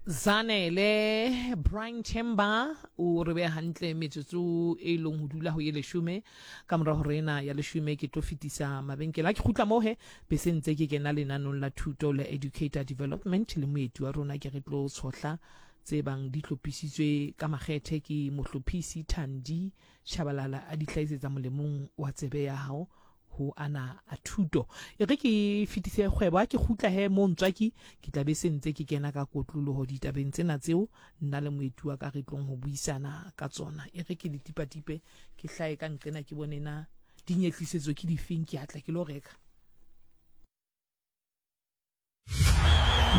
Zanele Brian Chamber o re beya hantle metsotso e leng ho dula ho ye leshome ka mora hore ena ya leshome ke tlo fetisa mabenkele a ke kgutla moo he bese ntse ke kena lenanong la thuto le educator development le moeti wa rona ke re tlo tshohla tse bang di hlophisitswe ka makgethe ke mohlophisi Thandi Shabalala a di hlahisetsa molemong wa tsebe ya hao ho ana a thuto. E re ke fetise kgwebo, ha ke kgutla he moo Ntswaki, ke tla be se ntse ke kena ka kotloloho ditabeng tsena tseo nna le moeti wa ka re tlong ho buisana ka tsona. E re ke le tipatipe, ke hlahe ka nqena ke bone na dinyetlisetso ke difeng, ke a tla ke lo reka.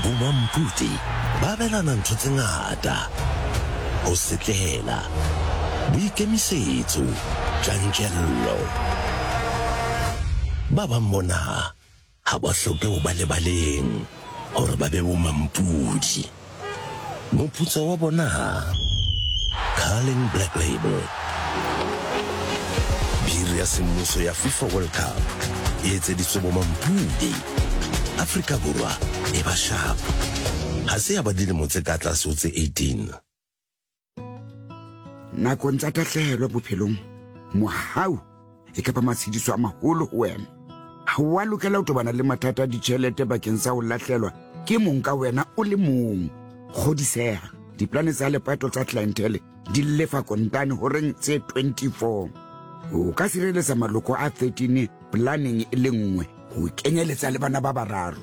Bomampudi ba abelana ntho tse ngata, ho setlela, boikemisetso, tjantjello. Ba bang bona ga ba hloke ho ba lebaleng gore ba be bomampudi. Moputso wa bona? Carling Black Label. Biri ya semmuso ya FIFA World Cup e etseditswe bomampudi. Afrika Borwa e ba sharp. Ha se ya ba dilemo tse ka tlase ho tse 18. Nakong tsa tahlehelo bophelong, mohau e ka ba matshediso a maholo ho wena. Ha o a lokela ho tobana le mathata a ditjhelete bakeng sa ho lahlelwa ke mong ka wena o le mong. Kgodiseha, diplane tsa lepato tsa Clientele di lefa kontane horeng tse 24. O ka sireletsa maloko a 13 planeng e le nngwe ho kenyeletsa le bana ba bararo.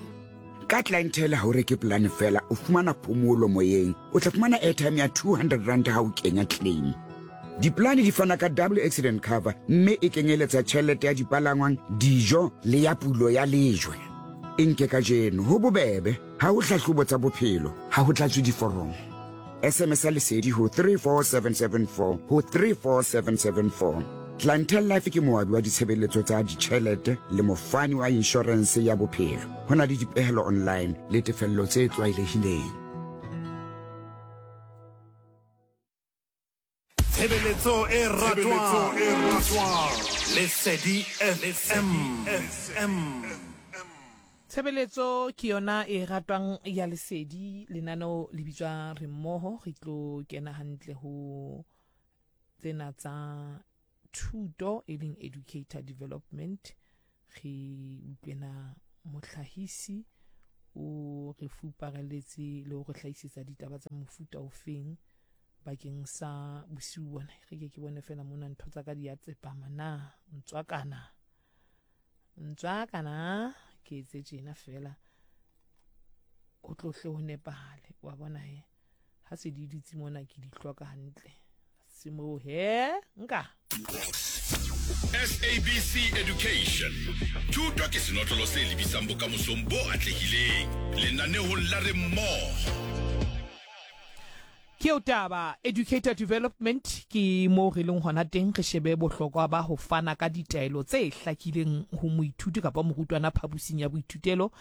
Ka Clientele ha o reke polane fela, o fumana phomolo moyeng. O tla fumana airtime ya 200 rand ha o kenya claim. Dipolane di fana ka double accident cover mme e kenyeletsa tjhelete ya dipalangwang, dijo le ya pulo ya lejwe. E nke kajeno, ho bobebe, ha ho hlahlobo tsa bophelo, ha ho tlatswe diforomo. SMS ya Lesedi ho 34774 ho 34774. Clientele Life ke moabi wa ditshebeletso tsa ditjhelete le mofani wa inshorense ya bophelo. Ho na le dipehelo online le tefello tse tlwaelehileng. Tshebeletso e ratwang Lesedi FM. Tshebeletso ke yona e ratwang ya Lesedi. Lenaneo le bitswa Re Mmoho. Re tlo kena hantle ho tsena tsa thuto e leng educator development. Re utlwena mohlahisi o re fupareletse le ho re hlahisetsa ditaba tsa mofuta ofeng bakeng sa bosiu bona. Re ke ke bone fela mona ntho tsa ka di a tsepama na ntswakana. Ntswakana ke etse tjena fela ho tlohle ho nepahale wa bona he ha se di dutse mona ke di hloka hantle se moo he nka. SABC Education. Thuto ke senotlolo se lebisang bokamosong bo atlehileng. Lenanehong la Re Mmoho. Ke eo taba, Educator Development ke moo re leng hona teng, re shebe bohlokwa ba ho fana ka ditaelo tse hlakileng ho moithuti kapa morutwana phaposing ya boithutelo.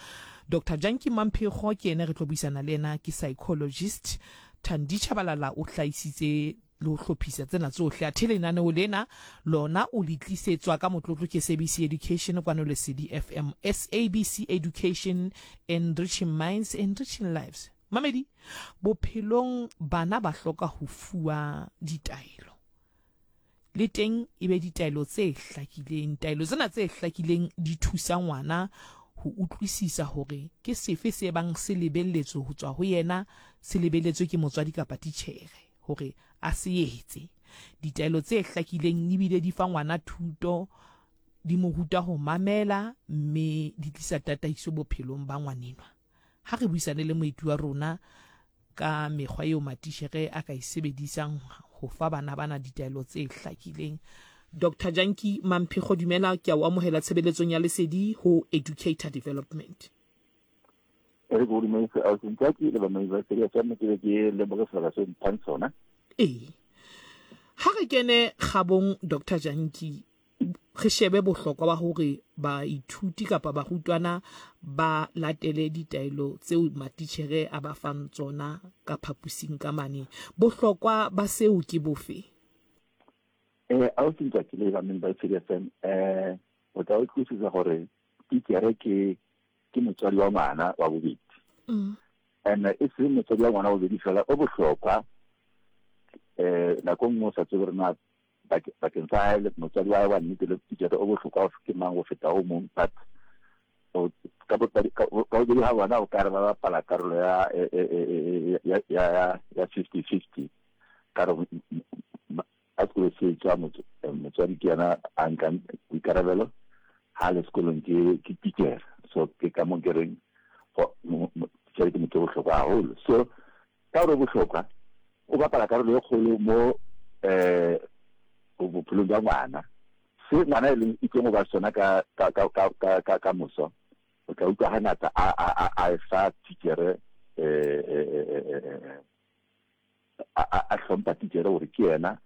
Doctor Janki Mamphekgo ke yena re tlo buisana le yena, ke psychologist. Thandi Tshabalala o hlahisitse le ho hlophisa tsena tsohle, athe lenaneo lena lona o le tlisetswa ka motlotlo ke SABC Education kwano Lesedi FM. SABC Education, enriching minds, enriching lives. Mamedi, bophelong bana ba hloka ho fuwa ditaelo. Le teng e be ditaelo tse hlakileng. Taelo tsena tse hlakileng di thusa ngwana ho utlwisisa hore ke sefe se bang se lebelletswe ho tswa ho yena, se lebelletswe ke motswadi kapa titjhere hore a se etse. Ditaelo tse hlakileng ebile di fa ngwana thuto, di mo ruta ho mamela mme di tlisa tataiso bophelong ba ngwanenwa. Ha re buisane le moeti wa rona ka mekgwa eo matishere a ka e sebedisang ho fa bana bana ditaelo tse hlakileng. Doctor Janki Mamphekgo, dumela, ke a o amohela tshebeletsong ya Lesedi ho Educator Development. E re ke o dumedise ausi Ntswaki le bamamedi ba Lesedi FM, ke be ke leboge sebaka seo mphang sona. Ee. Ha re kene kgabong Doctor Janki, re shebe bohlokwa ba hore baithuti kapa barutwana ba latele ditaelo tseo matitjhere a ba fang tsona ka phaposing ka mane. Bohlokwa ba seo ke bofe? Eh, ausi Ntswaki le bamamedi ba Lesedi FM, eh, o tla utlwisisa hore titjhere ke ke motswadi wa ngwana wa bobedi. And e seng motswadi wa ngwana bobedi fela, o bohlokwa. Um nako e nngwe o sa tsebe gore na bakeng sa hae motswadi wa hae wa nnete le titjhere o bohlokwa ke mang go feta o mong, but ka bobedi ga bona o ka re ba bapala karolo ya ya ya 50-50. Ka re ha sekolo se tswa, motswadi ke yena a nkang boikarabelo, ha le sekolong ke ke titjhere. So ke ka mo ke reng titjhere ke motho o bohlokwa haholo. So ka gore bohlokwa, o bapala karolo e kgolo mo um bophelong jwa ngwana. Se ngwana e leng itseng go ba sona ka ka ka ka ka ka moso, o tla utlwa hangata a a a e fa titjhere, um a hlompha titjhere gore ke yena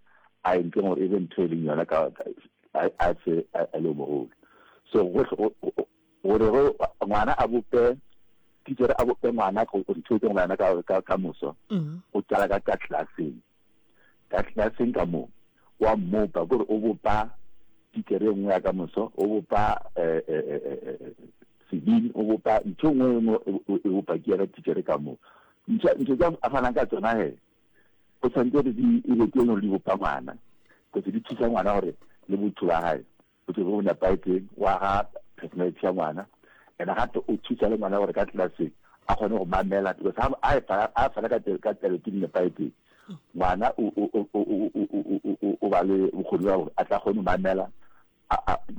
a entseng gore e be ntho e leng yona ka a se a le mogolo. So gore gore ngwana a bope titjhere, a bope ngwana ntho e teng yena ka ka moso, o qala ka ka classeng, ka classeng ka moo wa mmopa, kore o bopa titjhere e nngwe ya ka moso, o bopa sebini, o bopa ntho e nngwe nngwe e bopa ke yena titjhere ka moo. Ntho tse a fanang ka tsona he, o tshwanetse gore di e be ke gore di bopa ngwana, kotse di thusa ngwana gore le botho ba hae bo tle bo nepahetseng, wa ga personality ya ngwana. And gape o thusa le ngwana gore ka classeng a kgone go mamela, because ha a fana ka taelo tse di nepahetseng, ngwana o ba le bokgoni ba gore a tla kgone go mamela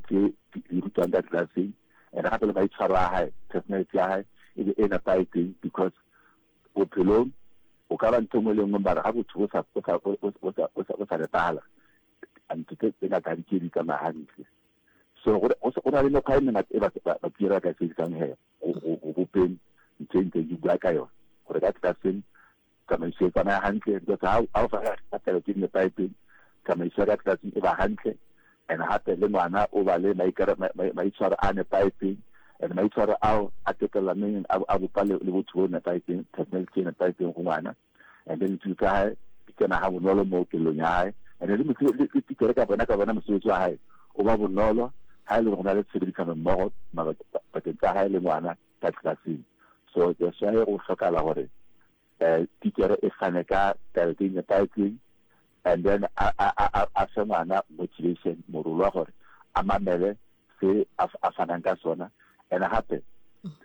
tse di rutwang ka classeng. And gape le maitshwaro a hae, personality ya hae e be e nepahetseng, because bophelong o ka ba ntho e nngwe le nngwe, mara ga botho bo sa nepahala, ntho tse ngata ga di ke di tsamaya hantle. So go na le mekgwa e mengata e batswadi ba ka e sebedisang he go bopeng ntho e ntseng ke bua ka yona, gore ka tlelaseng tsamaiso e tsamaya hantle, because ha o fana ka taelo tse di nepahetseng, tsamaiso ya ka tlelaseng e ba hantle. And gape le ngwana o ba le maitshwaro a nepahetseng, and maitshwaro ao a qetella neng a bopa le botho bo nepahetseng, personality e nepahetseng go ngwana. And then dithuto tsa hae di kena ha bonolo mo kelellong ya hae, and le titjhere ka bona ka bona mosebetsi wa hae o ba bonolo ha e le gore go na le tshebedisano mmogo pakeng tsa hae le ngwana ka tlelaseng. So that's why go hlokala gore titjhere e fane ka taelo tse nepahetseng, and then a fe ngwana motivation, morolo wa gore a mamele se a fanang ka sona. And gape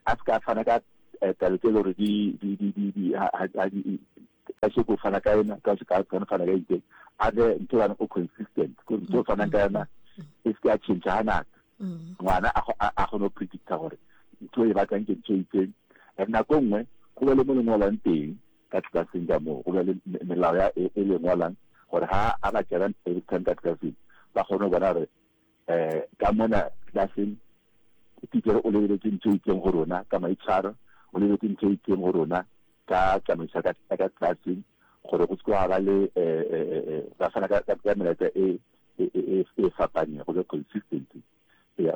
a se ka fana ka taelo tse e le gore di di di di di ha di ka se go fana ka ena ka se ka fana ka itseng, a be ntho bana o consistent, ko ntho o fanang ka yona e se ka change hangata. Ngwana a kgone go predicta gore ntho e batlang ke ntho e itseng. And nako e nngwe go be le mo le ngwalang teng ka tlelaseng ka moo, go be le melao ya e le ngwalang gore ha a ba kena every time ka tlelaseng, ba kgone go bona gore um ka mona tlelaseng titjhere o lebeletse ntho e itseng go rona ka maitshwaro, o lebeletse ntho e itseng go rona ka tsamaiso ka ka tlelaseng, gore go se ga ba le ba fana ka melaetsa e e fapaneng, go be consistency ya.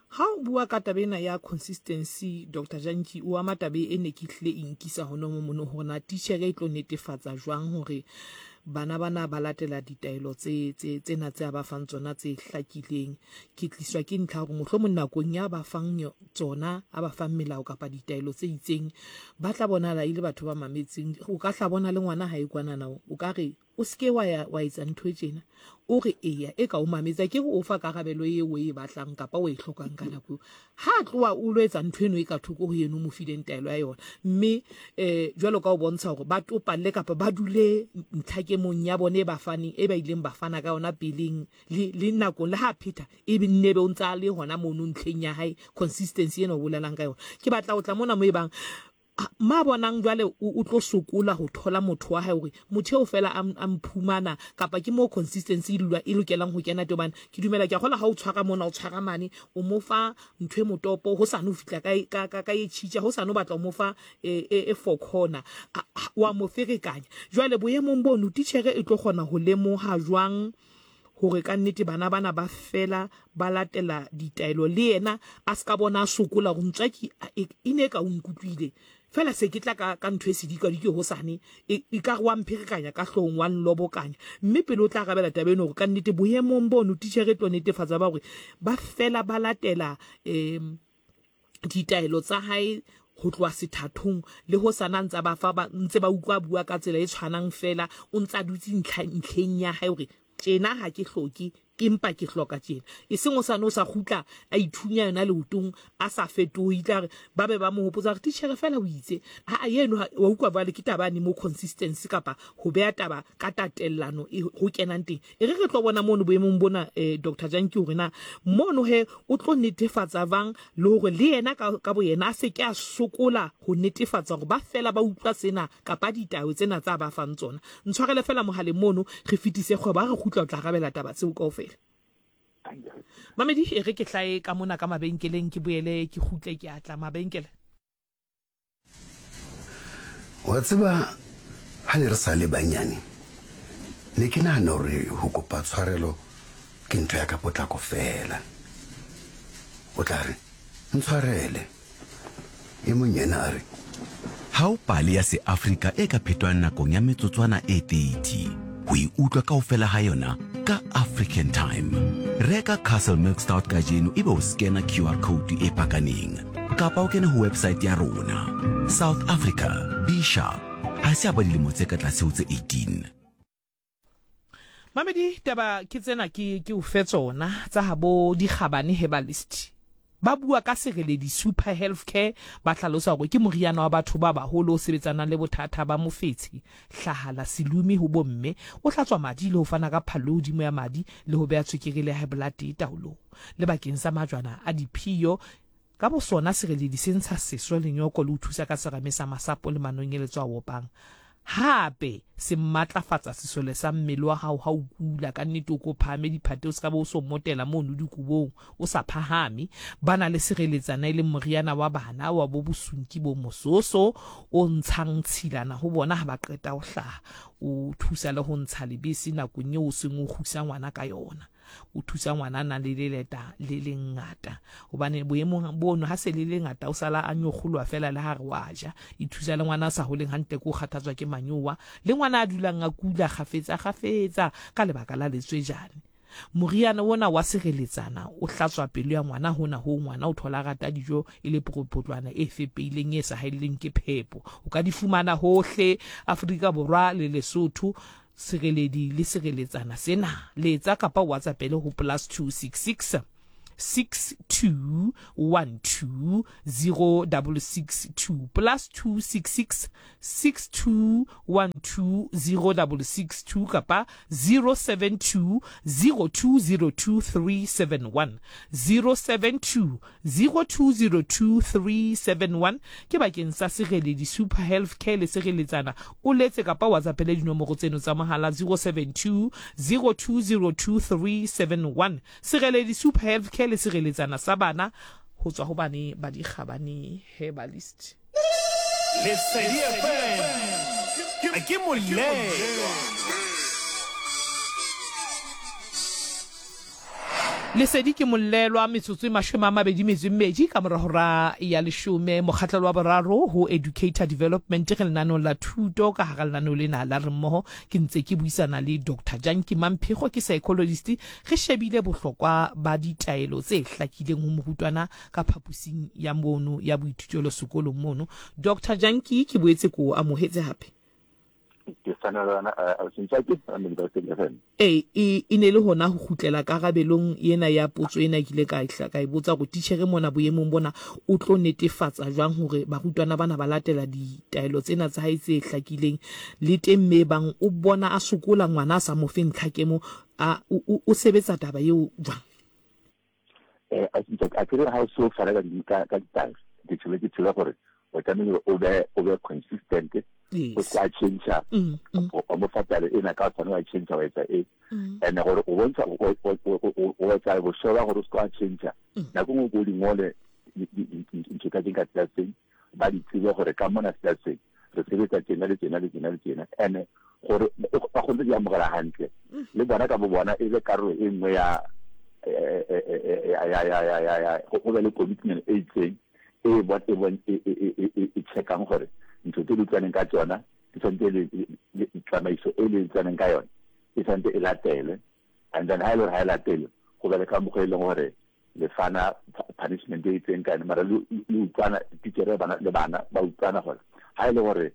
Ha o bua ka taba ena ya consistency, Dr Jantjie, o ama taba e ne ke hlile e nkisa hona mo mono, hore na titjhere e tlo netefatsa jwang hore bana bana ba latela ditaelo tse tse tsena tse a ba fang tsona tse hlakileng. Ke tliswa ke ntlha hore mohlomong nakong ya ba fang tsona, a ba fang melao kapa ditaelo tse itseng, ba tla bonahala e le batho ba mametseng. O ka hla bona le ngwana ha e kwanana, o ka re o se ke wa ya wa etsa ntho e tjena, o re eya, e ka o mametsa, ke re o fa karabelo eo o e batlang kapa o e hlokang ka nako eo. Ha a tloha o lo etsa ntho eno e ka thoko ho eno o mo fileng taelo ya yona, mme um jwalo ka o bontsha hore ba topalle kapa ba dule ntlhakemong ya bone e ba faneng, e ba ileng ba fana ka yona peleng le le nakong, le ha phetha e be nne be o ntsa le hona mono ntlheng ya hae, consistency ena o bolelang ka yona. Ke batla ho tla mona mo e bang ma bonang jwale o tlo sokola ho thola motho wa hae hore motho eo fela a mphumana, kapa ke mo consistency e dula e lokelang ho kena teng. Hobane ke dumela, ke a kgola ha o tshwara mona, o tshwara mane, o mo fa ntho e motopo, ho sane ho fihla ka ka ka e tjhitja, ho sane o batla o mo fa e four corner, wa mo ferekanya. Jwale boemong bono titjhere e tlo kgona ho lemoha jwang hore ka nnete bana bana ba fela ba latela ditaelo, le yena a se ka bona a sokola hore ntswaki e ne ka o nkutlwile fela, se ke tla ka ka ntho e sedikadike hosane, e ka re wa mpherekanya ka hloohong, wa nlobokanya. Mme pele o tla arabela taba eno, hore ka nnete boemong bono titjhere e tlo netefatsa ba hore ba fela ba latela um ditaelo tsa hae. ho tloha sethathong le ho sana ntsa ba fa ba ntse ba utlwa bua ka tsela e tshwanang fela o ntsa dutse ntlha ntlheng ya hae hore tjena ha ke hloke empa ke hloka tjena eseng o sane o sa kgutla a ithunya yona leotong a sa fetohe tla re ba be ba mo hopotsa hore titjhere fela o itse ha yeno wa utlwa jwale ke taba ne mo consistency kapa ho beha taba ka tatellano e ho kenang teng e re re tlo bona mono boemong bona eh, Dr Janki hore na mono he o tlo netefatsa bang le hore le yena ka, ka boyena a se ke a sokola ho netefatsa hore ba fela ba utlwa sena kapa ditayo tsena tsa ba fang tsona. Ntshwarele fela mohaleng mono re fetise kgwebo, ha re kgutla o tla arabela taba tseo kaofela. Mamedi, e re ke hlae ka mona ka mabenkeleng ke boele ke kgutle ke a tla mabenkele. Wa tseba, ha ne re sa le banyane, ne ke nahana hore ho kopa tshwarelo ke ntho ya ka potlako feela. O tla re, Ntshwarele. E mong yena a re. Ha ho pale ya Seafrika e ka phetwang nakong ya metsotswana e 30. Ho e utlwa kaofela ha yona ka African Time. Reka Castle Milk Stout kajeno ebe o skena QR code e pakaneng kapa o kene ho website ya rona. South Africa, be sharp. Ha se a ba dilemo tse ka tlase ho tse 18. Mamedi, taba ke tsena ke ke o fe tsona tsa habo Dikgabane Herbalist. Ba bua ka Sereledi Super Health Care, ba hlalosa hore ke moriana wa batho ba baholo o sebetsanang le bothata ba mofetshe, hlahala, selumi ho bomme, o hlatswa madi le ho fana ka phallo e hodimo ya madi le ho beha tswekere le high blood taolong. Le bakeng sa majwana a diphiyo, Ka bosona, sereledi se ntsha seso le nyoko le ho thusa ka serame sa masapo le manonyeletso a opang. Hape, se matlafatsa sesole sa mmele wa hao ha o kula. Ka nnete o ko phahame diphate o se ka be o so motela mono dikobong o sa phahame. Ba na le sereletsana e leng moriana wa bana wa bo bosunki bo mososo o ntshang tshilana ho bona ha ba qeta ho hlaha. O thusa le ho ntsha lebese nakong eo o seng o kgusa ngwana ka yona. O thusa ngwana a nang le leleta le lengata hobane boemong bono ha se le lengata o sala a nyokgoloha fela le ha re wa ja. E thusa le ngwana a sa holeng hantle ke o kgathatswa ke manyowa le ngwana a dulang a kula kgafetsa kgafetsa ka lebaka la letswejane. Moriana ona wa sireletsana o hlatswa pelo ya ngwana hona hoo ngwana o thola a rata dijo e le pokopotlwana e fepeileng e sa haelleng ke phepo. O ka di fumana hohle Afrika Borwa le Lesotho. Sireledi le sireletsana sena. Letsa kapa o WhatsAppele ho +266 62 12 0662 +266 62 12 0662 kapa 072 0202 371 072 0202371 ke bakeng sa Sereledi Super Health Care le Sereletsana. O letse kapa o WhatsAppele dinomoro tseno tsa mohala 072 0202371. Sereledi Super Health Care le Sereletsana sa bana ho tswa ho bane ba Dikgabane Herbalist. Lesedi FM ke molelwa. Lesedi ke mollelwa metsotso e 28 ka mora hora ya leshome. Mokgahlelo wa boraro ho Educator Development re lenaneong la thuto. Ka hara lenaneo lena la Re Mmoho ke ntse ke buisana le Doctor Janki Mamphego, ke psychologist. Re shebile bohlokwa ba ditaelo tse hlakileng ho morutwana ka phaposing ya mono ya boithutelo sekolong mono. Doctor Janki, ke boetse ke o amohetse hape. Ke fana le yona, eh, Ausi Ntswaki, Family ba Lesedi FM. Ee, e, e ne e le hona ho kgutlela karabelong ena ya potso ena ke ile ka e ka e botsa hore titjhere mona boemong bona o tlo netefatsa jwang hore barutwana bana ba latela ditaelo tsena tsa hae tse hlakileng le teng mme bang o bona a sokola ngwana a sa mo fe ntlhakemo a o, o, o sebetsa taba eo jwang? Eh, a ke a kere ha o so fana ka di ka ka ditaelo ke tsebe ke tsebe gore o tlamehile o be o be consistent o sa change o mo fa taelo ena ka tshwane wa change wa etsa e and gore o bontsha o etsa bošoba gore o se ka change nako nngwe ko di ngole ntho tsa teng ka tlelaseng ba di tsebe gore ka mona tlelaseng re sebetsa tjena le tjena le tjena le tjena and gore ba kgone di amogela hantle le bona ka bo bona e be karolo e nngwe ya ya go be le commitment e itseng e bon e bon e e e checkang gore ntho tse di utlwaneng ka tsona di tshwanetse le tsamaiso e le utlwaneng ka yone e tshwanetse e latelwe and then ha e le gore ha e latelwe go be le ka mokgwa e leng gore Le fana punishment e itseng ka yone, mara le utlwana, titjhere le bana ba utlwana gore ha e le gore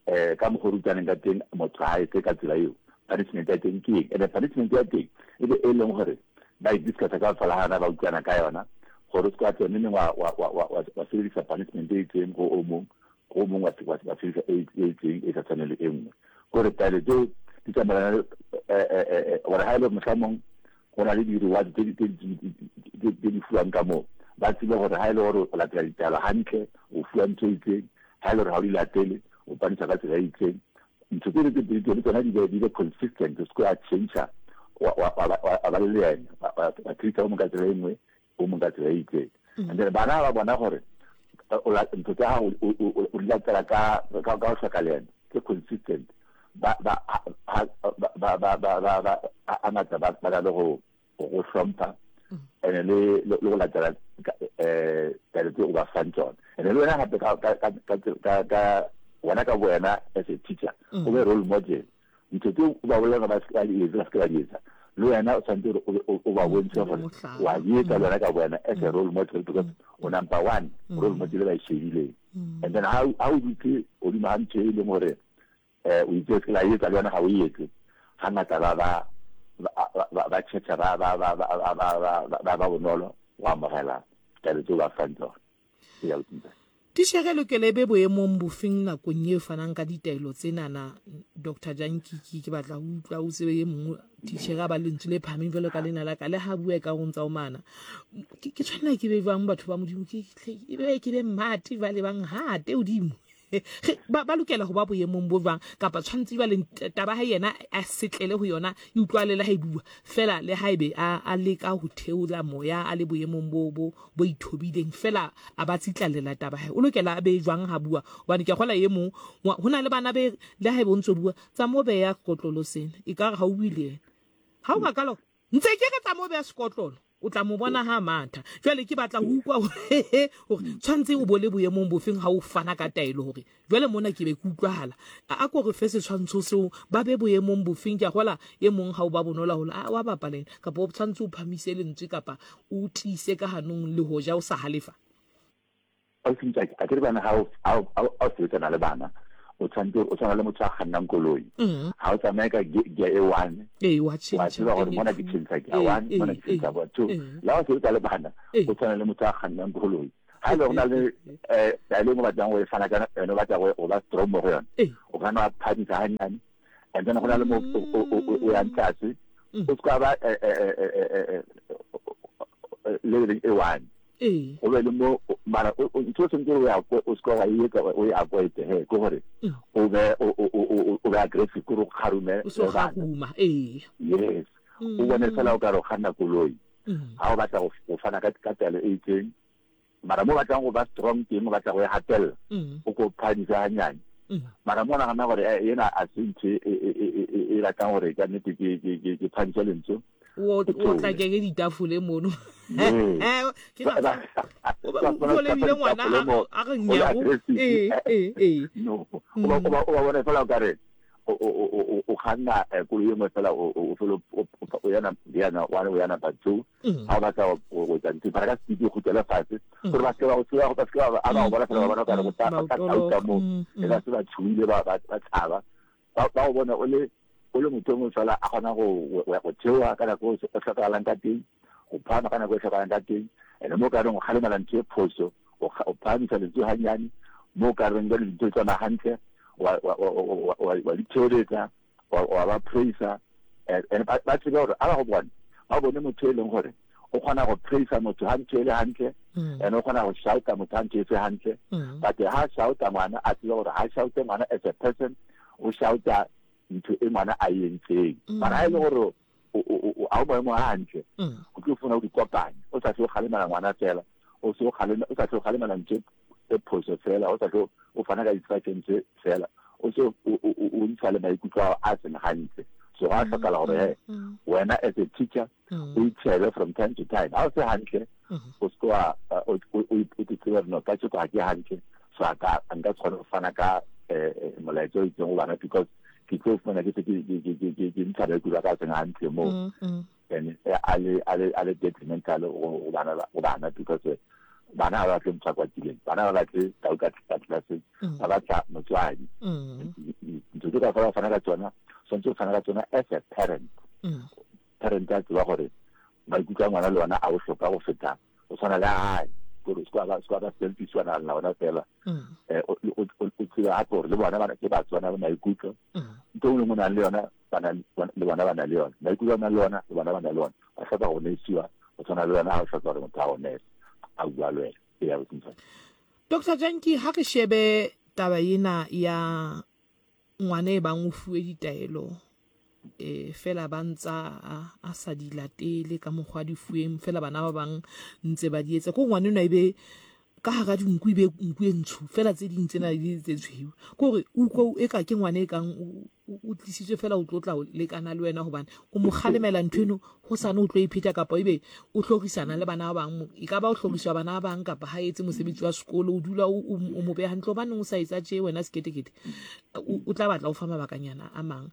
um ka mokgwa o re utlwaneng ka teng motho ha etse ka tsela eo, punishment ya teng ke eng. And-e punishment ya teng e be e leng gore ba e discussa ka fela ga yona, ba utlwana ka yona gore o se ka tswa neng wa sebedisa punishment e itseng go o mong, go o mong wa sebedisa e itseng e sa tshwaneng le e nngwe. Kore taelo tseo di tsamaelana le gore ha e le mohlamong go na le di-reward tse di fuwang ka moo, ba tsebe gore ha e le gore o latela ditaelo hantle o fuwa ntho e itseng, ha e le gore ha o di latele o paniswa ka tsela e itseng. Ntho tsele tse pedi tseo le tsona di be consistent, o se ke wa change-a wa ba le leeme, wa treat-a o mong ka tsela e nngwe, o mong ka tsela e itseng. And then bana ba bona gore ntho tsa gago o di latela ka go hloka leeme, tse consistent, ba ba ba ba ba ba ba hangata ba ba na le go go hlompha ene le le go latela eh taelo tse o ba fang tsona. Ene le wena gape ka ka ka ka ka wena ka wena as a teacher o be role model. Ntho tse o ba bolelang ba se ba di etse, ba se ke ba di etsa, le wena o tshwanetse gore o ba bontshe gore wa di etsa le wena ka wena as a role model, because o number one role model ba e shebileng. And then ha o dutse godimo ga ntho e leng gore um o itse se la etsa, le wena ga o etse, hangata ba ba ba ba tšhetšha ba ba ba ba ba ba ba bonolo go amogela taelo tse o ba fang tsona. Ee, ausi Ntate. Titjhere e lokela e be boemong bofeng nakong e fanang ka ditaelo tsenana, Doctor Jankiki? Ke batla ho utlwa o tsebe e mongwe titjhere a ba lentswe le phahameng jwalo ka lena la ka, le ha bua e ka o ntsa o mana. Ke tshwanela ke be jwang batho ba Modimo? Ke ke be ke be mmate jwale bang hate hodimo. Ba, ba lokela ho ba boemong bo jwang? Kapa tshwanetse jwale taba ha yena a setlele ho yona e utlwale le ha e bua fela, le ha ebe a, a leka ho theola moya a le boemong bo, bo, bo ithobileng fela a ba tsitlallela taba hae, o lokela a be jwang ha bua? Hobane ke a kgola e mong ho na le bana be le ha ebe o ntso bua tsa mo beya kotlolo sena ekare ha o bue le yena, ha o ka kalo Ntse ke re tsa mo beha sekotlolo, o tla mo bona ha a matha. Jwale ke batla ho utlwa hore tshwanetse o bo le boemong bofeng ha o fana ka taelo hore jwale mona ke be ke utlwahala. A ko re fe setshwantsho seo, ba be boemong bofeng? Ke a gola e mong ha o ba bonolo haholo, a wa bapala ena, kapa o tshwanetse o phamise lentswe kapa o tiise ka hanong le hoja o sa halefa. Ausi Ntsaki, akere bana ha o ha o ha o sebetsana le bana, o tshwanetse o tshwana le motho a kgannang koloi. Ha o tsamaye ka gear e one, Ee, wa wa tjhentjha tseba gore e mona ke two. tjhentjha gear Ee, one, mona ee, ke tjhentjha ee, gear two. ee. Le ha o sebetsa le bana, Ee. o tshwana le motho a kgannang koloi. Ha e le gore o na le taelo e nngwe o batlang go e fana ka yone, o batla go ba strong mo go yone, Ee. o ka nna wa phamisa hanyane, and then go na le mo o yang tlase, o se ka ba leveleng e one. Ee. Go be le mo mara ntho o tshwanetse o ya o se ka wa e etsa o e avoid he, ke gore o be o be aggressive, ke gore o kgarume O se o kgaruma, ee. Yes, o bone fela o ka re o kganna koloi ha o batla go fana ka taelo e itseng, mara mo o batlang go ba strong teng, o batla go e hatella, o ko phahamisa hanyane. Mara mo o nagana gore ena a se ntho e batlang gore ka nnete ke phahamise lentswe, O tlakeke ditafole mono. Ke o lebile ngwana a re nyago. Ee, ee, ee. No, o ba bona fela o ka re o kganna koloi e nngwe fela, o fele o yana yana one, o yana number two. Ha o batla go etsa ntho para ka speed, o kgutlele fatshe gore ba se ba go tseba, ba se ba a ba go bona fela, ba bona o ka re go tla tauta mo, e ba se ba tshohile, ba ba tshaba, ba go bona o le o le motho o mongwe fela a kgona go go theoha ka nako e hlokagalang ka teng, go phahama ka nako e hlokagalang ka teng. And mo ka reng o kgalemela ntho e phoso, o phahamisa lentswe hanyane. Mo ka reng jwale dintho di tsamaya hantle, wa di theoletsa, wa ba praisa. And ba tsebe gore a ba go bone, ba bone motho e leng gore o kgona go praisa motho ha ntho e le hantle, and o kgona go shouta motho ha ntho e se hantle. But ha shouta ngwana, a tsebe gore ha shoute ngwana as a person, o shouta ntho e ngwana a e entseng. Mara ha e le gore ha o maemo a hantle, o tlo fumana o di kopanya, o sa tle o kgalemela ngwana fela, o se o kgalema, o sa tle o kgalemela ntho e phoso fela, o sa tle o fana ka di-instructions fela, o se o ntsha le maikutlo ao a seng hantle. So ga hlokala gore he wena as a teacher o itshebe from time to time. Ha o se hantle, o se wa o tsebe no ka tshoko ha ke hantle, so a ka nka se kgone go fana ka molaetsa o itseng go bana, because ke tlo fumana ke se ke ntsha maikutlo a ka seng hantle moo. And a le a le a le detrimental go bana go bana because bana ga ba batle motho a kwatileng, bana ga ba batle tau ka ka tlelaseng, ba batla motswadi. Ntho tse kaofela o fana ka tsona, tshwanetse o fana ka tsona as a parent. Parent a tseba gore maikutlo a ngwana le ona a bohlokwa go feta go tshwana le a hae, gore se ka ba selfish wa nagana ona fela. O tseba gape gore le bona ke batho ba na le maikutlo. Ntho e nngwe le nngwe o nang le yona ba na le bona ba na le yona, maikutlo a nang le ona le bona ba na le ona, ba hloka go nesiwa go tshwana le wena ha o hloka gore motho a go nese a bua le wena. Ee, abuti Mtshwana. Doctor Janki, ha re shebe taba ena ya ngwana e bang o fuwe ditaelo e fela ba ntsa a sa di latele ka mokgwa di fuweng, fela bana ba bang ntse ba di etsa, ko ngwana enwa e be ka hara dinku e be nku e ntsho fela, tse ding tsena di tse tshweu, ke gore utlwa e ka ke ngwana e kang o tlisitswe fela o tlo tla lekana le wena, hobane o mo kgalemela ntho eno ho sane o tlo e pheta, kapa ebe o hlorisana le bana ba bang, e ka ba o hloriswa bana ba bang, kapa ha etse mosebetsi wa sekolo, o dula o mo beha hantle, hobaneng o sa etsa tje wena seketekete, o tla batla o fa mabakanyana a mang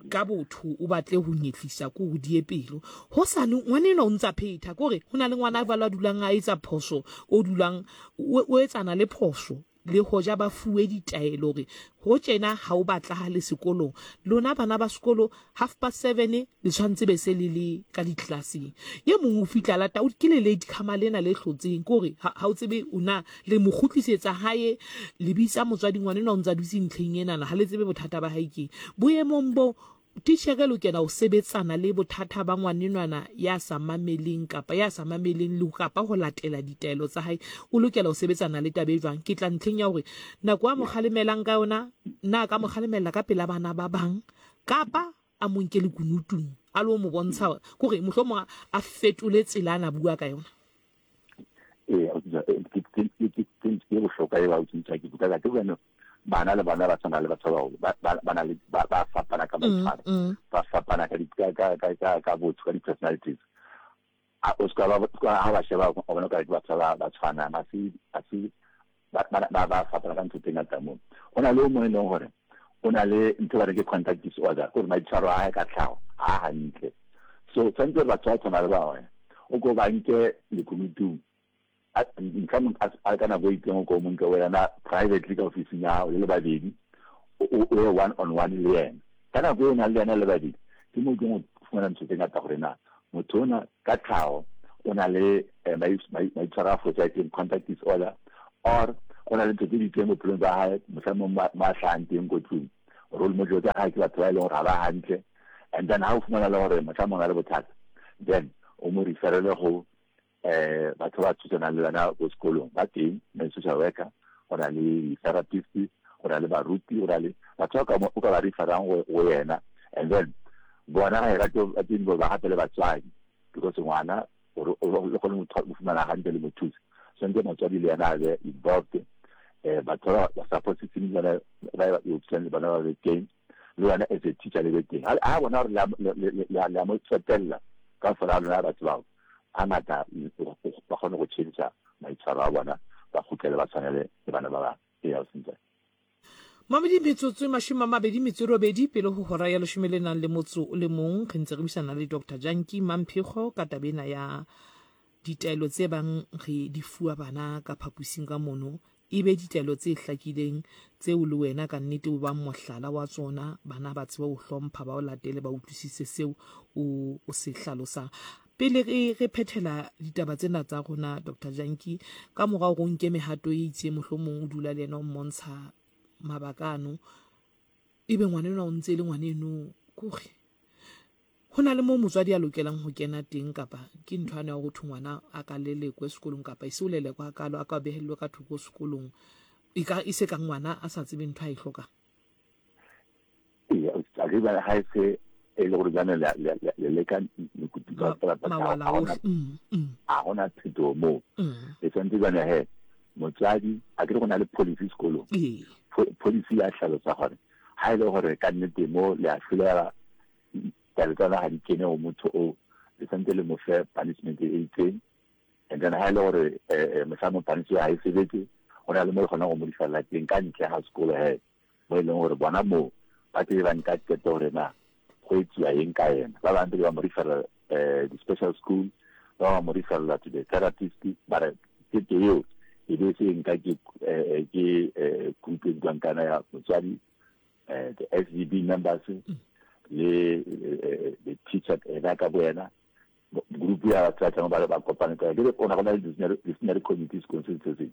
ka botho, o batle ho nyetlisa ko ho die pelo ho sane ngwana enwa o ntsa phetha, ke hore ho na le ngwana a jwalo a dulang a etsa phoso, o dulang o etsana le phoso, le hoja ba fuwe ditaelo hore ho tjena ha o batlahale sekolong, lona bana ba sekolo 7:30 le tshwanetse be se le le ka ditlelaseng. Ye mong o fihla lata, o ke le late comer lena le hlotseng, ke hore ha o tsebe o na le mo kgutlisetsa hae, le bitsa motswadi, ngwana enwa o ntsa dutse ntlheng enana, ha le tsebe bothata ba hae keng. Boemong bo, Titjhere e lokela ho sebetsana le bothata ba ngwanenwana ya sa mameleng kapa ya sa mameleng le kapa ho latela ditaelo tsa hae. O lokela ho sebetsana le taba e jwang? Ke tla ntlheng ya hore nako a mo kgalemelang ka yona, na a ka mo kgalemella ka pela bana ba bang kapa a mo nke lekunutung a lo mo bontsha, kore mohlomong a fetole tsela a na bua ka yona? Ee, ke bohlokwa eo, ke ke bana le bona ba tshwana le batho ba baholo, ba na le ba fapana ka maitshwaro, ba fapana ka ka ka ka botho, ka di-personalities. A o ska ba ha ba sheba o bona ka ke batho ba ba tshwanang, ha se ha se ba ba ba fapana ka ntho tse ngata. Moo ho na le o mong e leng gore o na le ntho ba re ke conduct disorder, gore maitshwaro a hae ka tlhago ha hantle. So tshwanetse gore batho ba tshwana le ba o ko ba nke lekunutung, mohlomong a ka nako e itseng o ko mo nke wena privately ka ofising ya hao le le babedi, o ye one on one le yena. Ka nako e o nang le yena le babedi, ke mo tlong o fumana ntho tse ngata gore na motho ona ka tlhago o na le maitshwaro a fosahetseng, conduct disorder, or go na le ntho tse di itseng bophelong ba hae, mohlomong mo a hlahang teng ko tlung, role model tsa hae ke batho ba e leng gore ga ba hantle. And then ha o fumana le gore mohlomong a le bothata, then o mo referele go batho ba thusanang le bana ko sekolong ba teng, na social worker, go na le di-therapist, go na le baruti, go na le batho ba o ka ba referang go yena. And then bona ga e rate ba teng ba gape le batswadi, because ngwana gore le kgone go fumana hantle le mo thusa, tshwanetse motswadi le yena a be involved. Batho ba support system le bona ba e le bona ba be teng, le wena as a teacher le be teng. Ha bona gore le a mo tsotella ka fela lona batho bao, hangata ba kgone go change maitshwaro a bona, ba kgutlele ba tshwanele le bana ba bang. Ee, ausi. Mamedi, metsotso e 28 pele ho hora ya leshome le nang le motso o le mong, re ntse re buisana le Dr Janki Mamphego ka taba ena ya ditaelo tse bang re di fuwa bana ka phaposing ka mono, e be ditaelo tse hlakileng tseo le wena ka nnete o bang mohlala wa tsona, bana ba tsebe ho hlompha, ba o latele, ba utlwisise seo o se hlalosang. Pele re re phethela ditaba tsena tsa rona, Dr Janki, ka mora hore o nke mehato e itseng, mohlomong o dula le yena o mmontsha mabaka ano, ebe ngwana enwa o ntse e le ngwana eno, kore ho na le moo motswadi a lokelang ho kena teng, kapa ke ntho ane ya ho thwe ngwana a ka lelekwe sekolong, kapa e se o lelekwa hakalo, a ka behellwe ka thoko sekolong, e ka e se ka ngwana a sa tsebe ntho a e hlokang? Ee, a ke ba ha e se e le gore jane le leka mekutu ka fela, a gona phetogo moo, e tshwanetse jane he motswadi a ke re go na le policy sekolong. Policy ya hlalosa gore ha e le gore ka nnete mo le a hlolela, taelo tsona ga di kene go motho o, le tshwanetse le mo fe punishment e itseng. And then ha e le gore mohlomong punishment ha e sebetse, go na le mo le kgonang go mo referela teng ka ntle ga sekolo he, mo e leng gore bona moo ba tle ba nka qeto gore na go etsiwa eng ka yena. Ba bang pele ba mo referela eh di-special school, ba bang ba mo referela to the therapist. Mara qeto eo e be se nka ke eh, ke eh, group e buang kana ya motswadi, eh, the SGB members le the teacher ena ka boyena, group ya batho ba tlang ba ba kopane ka ke ona go na le disciplinary committee sekolong se se seng,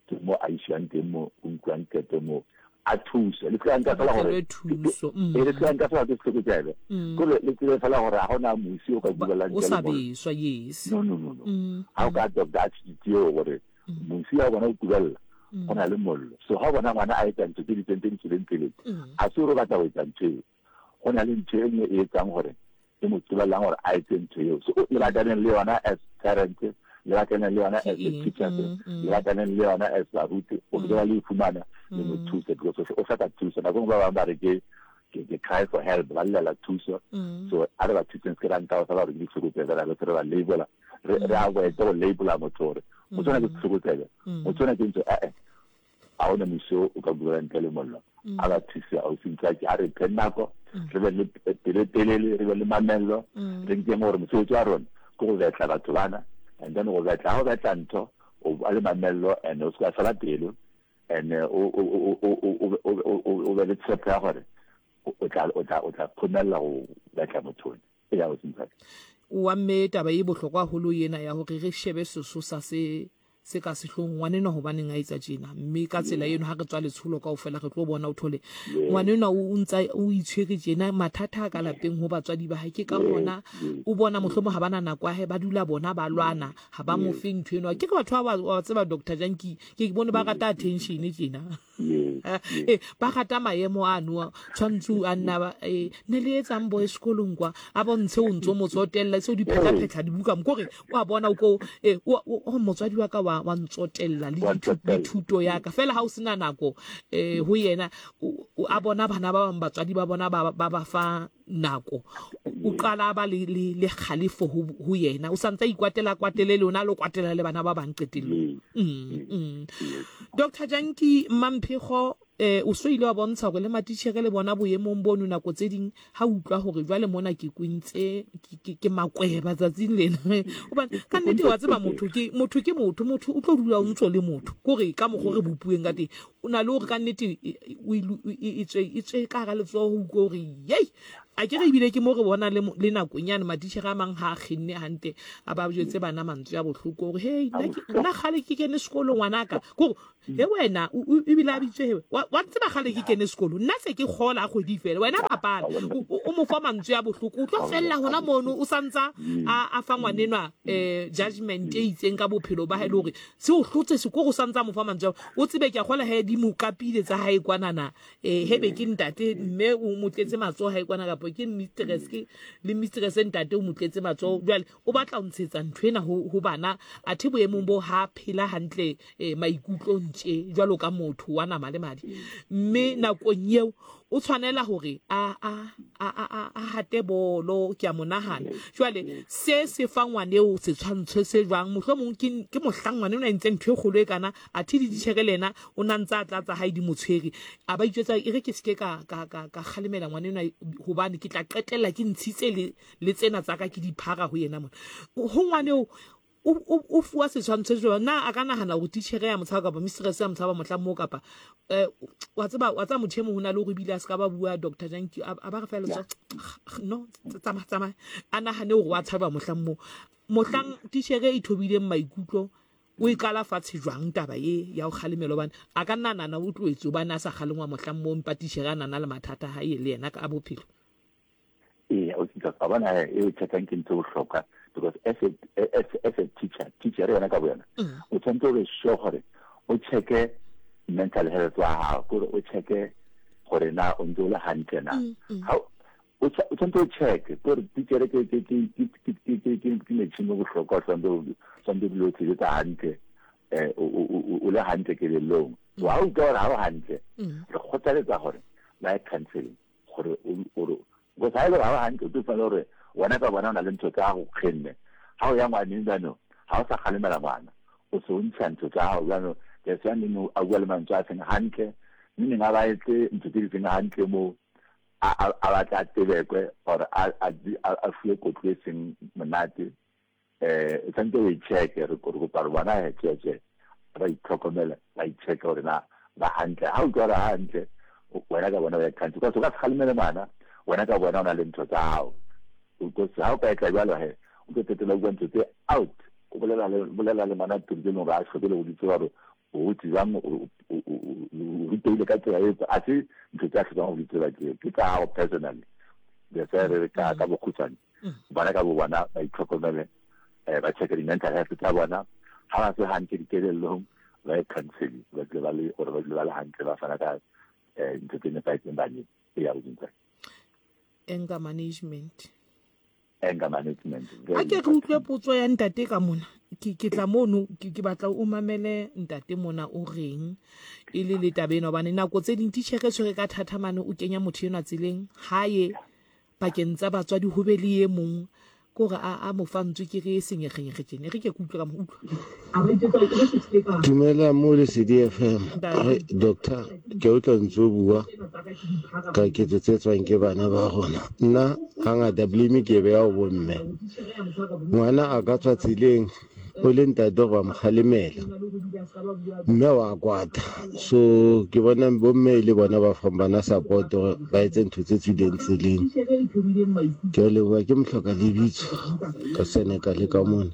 ke mo a isiwang teng mo o nkuang qeto mo a thuse le tla nka fela gore thuso mm. e le tla nka fela ke setlhokotsebe mm. kore le tsebe fela gore ga gona mosi o ka bubelang o sa beswa yes no no no no mm. ga o ka adopt attitude eo gore mosi ya bona o kubelela go na le mollo, so ga o bona ngwana a etsa ntho tse di tseng tse di tswileng tseleng, a se gore o batla go etsa ntho eo, go na le ntho e nngwe e etsang gore e mo qobellang gore a etse ntho eo. So le batlaneng le yona as parents, le batlaneng le yona as the teachers, le batlaneng le yona as baruti, o ke le fumana le mo thuse because o hloka thuso. Nako nngwe ba bangwe ba re ke ke cry for help, ba llela thuso. So a re ba thuseng, se ke ra nka fela gore ke ditlhokotsebe, ra be re ba labela, re re avoid go labela motho gore motho ona ke setlhokotsebe, motho ona ke ntho eh. Ga o na moso o ka buela ntle le mollo. A ba thuse ausi Ntswaki, a re phe nako, re be le pelo telele, re be le mamello, re nkeng gore mosebetsi wa rona ke go betla batho bana, and then go betla, ha o betla ntho o ba le mamello and o se ka fela pelo and o be le tshepo ya gore o tla o tla o tla phomella go betla motho ona. Eya ausi Ntswaki. Wa mme taba e bohlokwa haholo ena ya hore re shebe sesosa se se ka sehlong ngwanenwa hobaneng a etsa tjena, mme ka tsela eno ha re tswa letsholo kaofela re tlo bona o thole ngwanenwa o ntsa o itshwere tjena, mathata a ka lapeng ho batswadi ba hae, ke ka hona o bona mohlomong ha bana nako ya hae, ba dula bona ba lwana, ha ba mo fe ntho eno. Ke re batho ba ba tseba Doctor Janki, ke bone ba rata attention tjena. Eh, ba rata maemo ano tshwanetse a nna ba eh, ne le etsang boy sekolong kwa, a bontshe o ntse o mo tsotella se o di phetla-phetla dibuka mo kore o a bona o ko eh, o motswadi wa ka wa wa ntsotella le dithuto ya ka fela ha o sena nako eh, ho yena a bona bana ba bang batswadi ba bona ba ba fa nako, o qala a ba le le le kgalefo ho ho yena, o santse a ikwatela kwatele le ona lo kwatela le bana ba bang qetellong. Dr. Janki Mamphego, eh o so ile wa bontsha hore le matitjhere le bona boemong bono nako tse ding ha utlwa hore jwale mona ke kwentse ke makweba tsatsing lena, hobane ka nnete wa tseba motho ke motho ke motho, motho o tlo dula o ntso le motho kore ka mokgwa re bopuweng ka teng, o na le hore ka nnete e tswe e tswe ka hara letsoho, o utlwe hore yei a ke re ebile ke mo re bona le le nakong yane matitjhere a mang ha a kgenne hantle a ba jwetse bana mantswe a bohloko hore hei nna kgale ke kene sekolo ngwanaka, kore he wena ebile a bitswe he wa tseba kgale ke kene sekolo nna se ke kgola kgwedi fela wena bapala, o mo fa mantswe a bohloko, o tlo fella hona mono o santsa a fa ngwanenwa judgment e itseng ka bophelo ba hae le hore se o hlotse sekoro, o santsa mo fa mantswe ao, o tsebe ke a kgola he di mo kapile tsa hae kwanana, eh hebe ke ntate mme o mo tletse matsoho hae kwana, kapa ke mistress ke le mistress ntate o mo tletse matsoho, jwale o batla ho ntshetsa ntho ena ho ho bana, athe boemong bo ha phela hantle eh, maikutlong tje jwalo ka motho wa nama le madi, mme nakong eo o tshwanela hore a a a a a hate bolo, ke a mo nahana jwale se se fa ngwaneo setshwantsho se jwang, mohlomong ke ke mohlang ngwane o na entse ntho e kgolo e kana, athe le ditjhere le yena o na ntse a tlatsa hae di mo tshwere, a ba itjwetsa e re ke seke ka ka ka ka kgalemela ngwane enwa hobane ke tla qetella ke ntshitse le le tsena tsa ka ke di phara ho yena mona ho ngwaneo o fuwa setshwantsho se jwang, na a ka nahana hore titjhere ya motshaba kapa mistress ya motshaba mohlang moo, kapa eh, wa tseba wa tseba motho e mong ho na le hore ebile a se ka ba bua Doctor Janki a ba re fela letsoho, no tsamaya tsamaya, a nahane hore wa tshaba mohlang moo, mohlang titjhere e thobileng maikutlo o e qala fatshe jwang taba e ya ho kgalemela, hobane a ka nna a nahana o tlohetse hobane a sa kgalengwa mohlang moo, empa titjhere a nana le mathata a hae le yena ka bophelo. Ee, o tsitsa ka bona e o checkang ke ntho e bohlokwa because as a as, as a teacher, teacher yona ka boyona o tshwanetse o be sure gore o checke mental health wa gago, kore o checke gore na o ntse o le hantle na. Ha o tshwanetse o checke kore teacher ke ke ke ke ke ke ke ke ke metšhini o bohlokwa, o tshwanetse o dule o sebetsa hantle, eh o le hantle kelellong. So ha o utlwa gore ha o hantle, re kgothaletsa gore ba ye counseling gore o because ha e le gore ha o hantle, o tlo fumana gore wena ka bona o na le ntho tsa gago kgenne, ha o ya ngwaneng jaanong ha o sa kgalemela ngwana, o se o ntsha ntho tsa gago jaanong, that's why neng a bua le mantswe a seng hantle, mme neng a ba etse ntho tse di seng hantle moo. a batla a tebekwe or a fiwe kotlo e seng monate, um o tshwanetse o e checke. Re kopa gore bona he tsweetswee ba itlhokomele, ba ichecke gore na ba hantle. Ha utlwa gore hantle, wena ka bona o ya country, because o ka se kgalemele ngwana wena ka bona o na le ntho tsa gago, because ha o ka etla jalo he o tlo qetella o bua ntho tse out, o bolela le bolela le ngwana tse leng gore a hloke le go di tseba gore o hotse jwang, o rutehile ka tsela e, a se ntho tse a hlokang go di tseba tseo, ke tsa gago personally. That's why re re ka ka bokgutshwane, bona ka bo bona ba itlhokomele, ba checke di-mental health tsa bona, ha ba se hantle dikelellong ba ye counseling, ba dule ba le gore ba dule ba le hantle, ba fana ka ntho tse nepahetseng baneng. E ya godimo Anger management. Anger management. A ke re utlwe potso ya ntate ka mona. Ke ke tla mono ke ke batla o mamele ntate mona o reng e le le taba ena, hobane nako tse ding titjhere e tshwere ka thata mane, o kenya motho enwa tseleng hae pakeng tsa batswadi ho be le e mong ke hore a a mo fa ntswe ke re e senyegenyege tjena. E re ke ke utlwe ka mo utlwa. Dumela mo Lesedi FM. Ai doctor, ke utlwa ntse o bua ka ketso tse tswang ke bana ba rona. Nna hangata blame ke e beha ho bomme. Ngwana a ka tswa tseleng o le ntate gore wa mo kgalemela, mme wa kwata. So ke bona bomme e le bona ba fang bana support gore ba etse ntho tse tswileng tseleng. Ke a leboha, ke mohloka lebitso ka Senegal ka mona.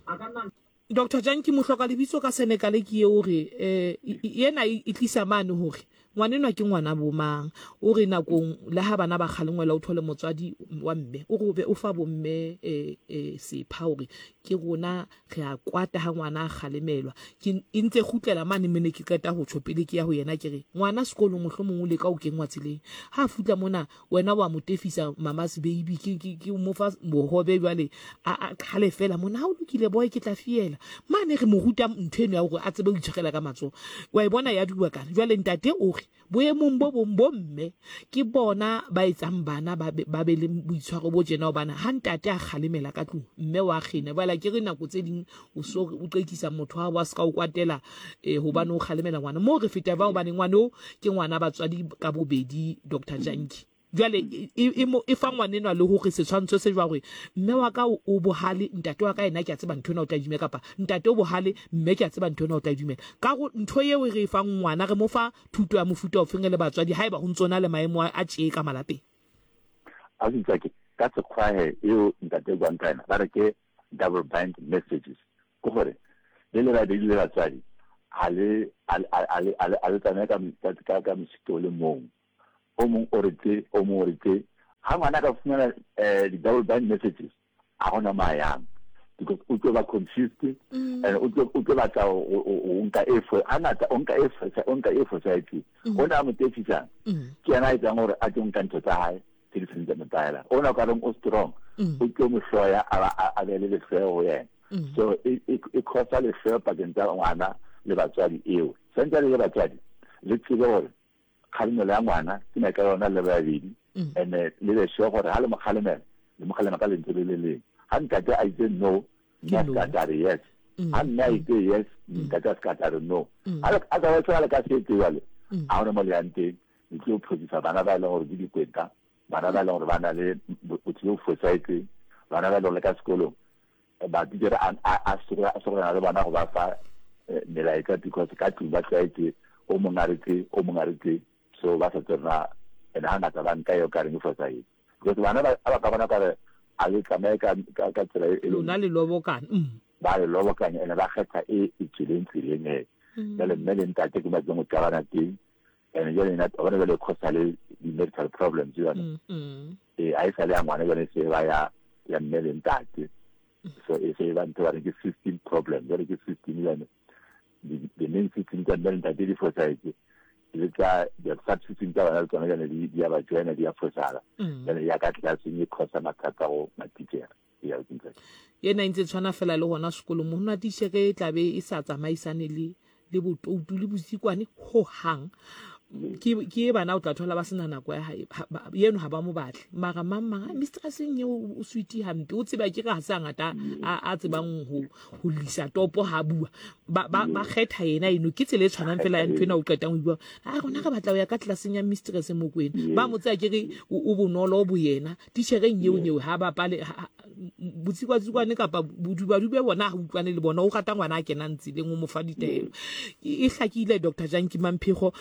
Doctor Janki mohloka lebitso ka Senegal ke ye o re eh yena e tlisa mane hore ngwanenwa ke ngwana bo mang. O re nakong le ha bana ba kgalengwela o thole motswadi wa mme, o re o be o fa bomme eh eh sepha hore ke rona re a kwata ha ngwana a kgalemelwa. Ke e ntse kgutlela mane mene ke qeta ho tjho pele ke ya ho yena ke re ngwana sekolong mohlomong o leka ho kengwa tseleng, ha a futla mona wena wa mo tefisa mama's baby, ke ke ke mo fa bohobe jwale a a qhale fela mona, ha o lokile boy ke tla fiela mane. Re mo ruta ntho eno ya hore a tsebe ho itshwarela ka matsoho, wa e bona ya duba kana. Jwale ntate o re boemong bo bong bo mme ke bona ba etsang bana ba be ba be le boitshwaro bo tjena, hobane ha ntate a kgalemela ka tlung mme wa kgena. Jwale ke re nako tse ding o so o qekisa motho wa wa ska o kwatela eh, hobane o kgalemela ngwana mo re feta ba, hobane ngwana o ke ngwana batswadi ka bobedi. Dr Janki jwale e, e, e fa ngwanenwa le hore setshwantsho se jwa hore mme wa ka o bohale, ntate wa ka yena ke a tseba ntho ena o tla dumela, kapa ntate o bohale, mme ke a tseba ntho ena o tla dumela. Ka go ntho eo re e fang ngwana, re mo fa thuto ya mofuta ofeng re le batswadi haeba ho ntse na le maemo a tjee ka malapeng? A ke ka sekgwahe eo ntate buang ka yena, ba re ke double bind messages, ke gore le le babedi le batswadi ha le a le tsamaye ka ka mosito o le mong, o mong o re tse, o mong o re tse. Ha ngwana ka fumana di-double bind messages, a gona mo a yang, because o tlo ba confused and o tlo o tlo batla o nka e fo hangata o nka e o nka e fosahetseng. O ne a mo tefisang ke yena a etsang gore a tlo nka ntho tsa hae tse di seng tsa mo tlwaela, ona o ka reng o strong, o tlo mo hloya, a ba a be le lehloyo ho yena. So e e causa lehloyo pakeng tsa ngwana le batswadi. Eo santse le batswadi le tsebe gore kgalemelo ya ngwana ke maikaelelo yona le babedi, and le be sure gore ha le mo kgalemela, le mo kgalema ka lentswe le le leng. Ha ntate a itse no, mme a se ka re yes. Ha mme a itse yes, ntate a se ka re no. Otherwise ha le ka se etse jwalo, ha hona mo le yang teng. Le tlo phosisa bana ba e leng gore ke dikweta, bana ba e leng gore ba na le botho bo fosahetseng, bana ba e leng gore le ka sekolong matitjhere a sokana le bona go ba fa melaetsa, because ka tlung ba tlwaetse o mong a re tse, o mong a re tse, so ba sa tsebe na. And hangata ba nka eo ka reng e fosahetse, because bana ba ba ka bona kare a le tsamaye ka ka tsela e lona le lobokana, ba le lobokanya, ene ba kgetha e e tswileng tseleng e. Jale mme le ntate ke ba tlong go qabana teng, and jale ena bona jale cause le di-medical problems yone. Ee, a e sa le ya ngwana jale, se ba ya ya mme le ntate, so e se ba ntho ba re ke system problem. Jale ke system jane, the main system tsa mme le ntate di fosahetse, le tsa the sub system tsa bana le tsona jane di ya ba joina, di ya fosahala. Jale ya ka tlelaseng e causa mathata go matitjhere. Yena e ntse tshwana fela le gona sekolong mo gona tichere e tlabe e sa tsamaisane le le botoutu le bosikwane ho hang. Ke ke bana o tla thola ba sena nako ya hae yeno ha ba mo batle mara mang mang ah, mistresseng eo o sweet hampe o tseba ke re ha se a ngata a tsebang ho ho lisa topo ha bua ba ba ba kgetha yena eno ke tsela e tshwanang fela ya ntho ena o qetang ho bua a rona re batla ho ya ka tlelaseng ya mistress Mokwena ba mo tsaya ke re o bonolo bo yena titjhereng eo nyeo ha bapale botsikwa-tsikwane kapa bodubadube bona ha utlwane le bona o rata ngwana a kenang tseleng o mo fa ditaelo e hlakile Dr Janki Mamphego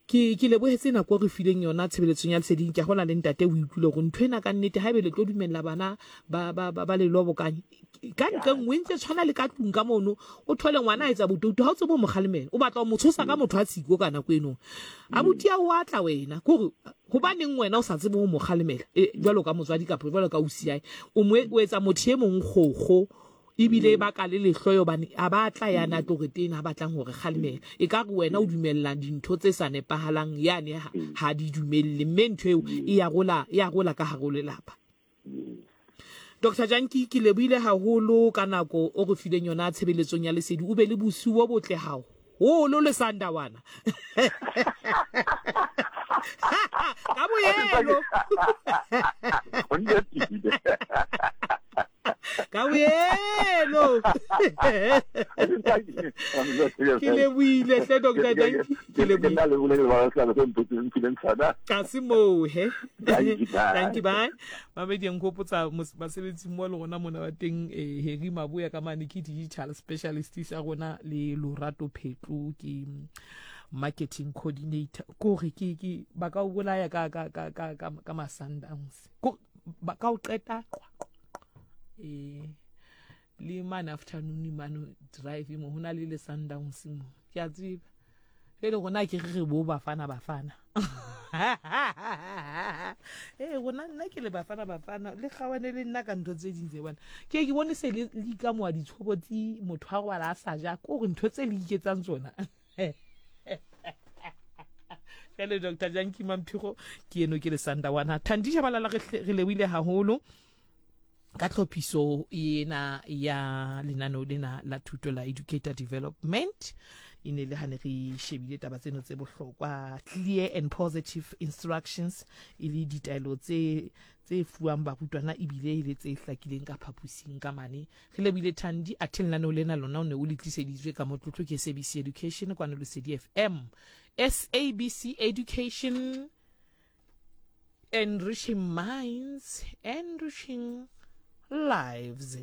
ke ke lebohetse nako re fileng yona tshebeletsong ya leseding ke gola le ntate o utlwile gore ntho ena ka nnete haebe le tlo dumella bana ba ba ba, ba le lobokanye ka ntle nngwe ntse tshwana le ka tlung ka mono o thole ngwana a etsa botoutu ha o tsebe o mo kgalemela o batla o mo tshosa ka motho a tshiko ka nako eno abuti a o atla wena kore Hobaneng wena o sa tsebe ho mo kgalemela e, jwalo ka motswadi kapa jwalo ka ausiae? O mo o etsa motho e mong kgokgo ebile e baka le lehloyo hobane a ba tla yana a tlo re tena a batlang ho re kgalemela. E ka re wena o dumella dintho tse sa nepahalang yane ha, ha di dumelle mme ntho eo e ya rola e ya rola ka hare ho lelapa. Doctor Janki, ke lebohile haholo ka nako o re fileng yona tshebeletsong ya lesedi. O be le bosiu bo botle haholo le Sandawana. Ka boelo. Ka boelo. Ke lebohile hle Doctor Janki. Ke lebohile. Ka se moo he. Thank you bye. Mamedi ya nkgopotsa basebetsi mo le rona mona ba teng eh, Harry Maboya ka mane ke digital specialist sa rona le Lorato Phetlo ke marketing coordinator kore ke ke ba ka o bolaya ka ka ka ka ka, ka ma-Sundowns ko ba ka o qeta qwa qwa eh le mane afternoon mane drive mo hona le le Sundowns mo ke a tseba e le rona ke re re bo bafana bafana ee rona nna ke le bafana bafana le kgawane le nna ka ntho tse ding tse bona ke ke bone se le ikamoa ditshobotsi motho a robala a sa ja ko gore ntho tse le iketsang tsona jale Dr Janki Mamphigo ke eno ke le Sandawana Thandi Shabalala re lebohile haholo ka tlhophiso ena ya lenaneo lena la thuto la educator development e ne le ha ne re shebile taba tseno tse bohlokwa clear and positive instructions e le ditaelo tse tse fuwang barutwana ebile e le tse hlakileng ka phaposing ka mane re lebile Thandi athe lenaneo lena lona o ne o le tliseditswe ka motlotlo ke SABC Education kwano Lesedi FM SABC Education enriching minds enriching lives.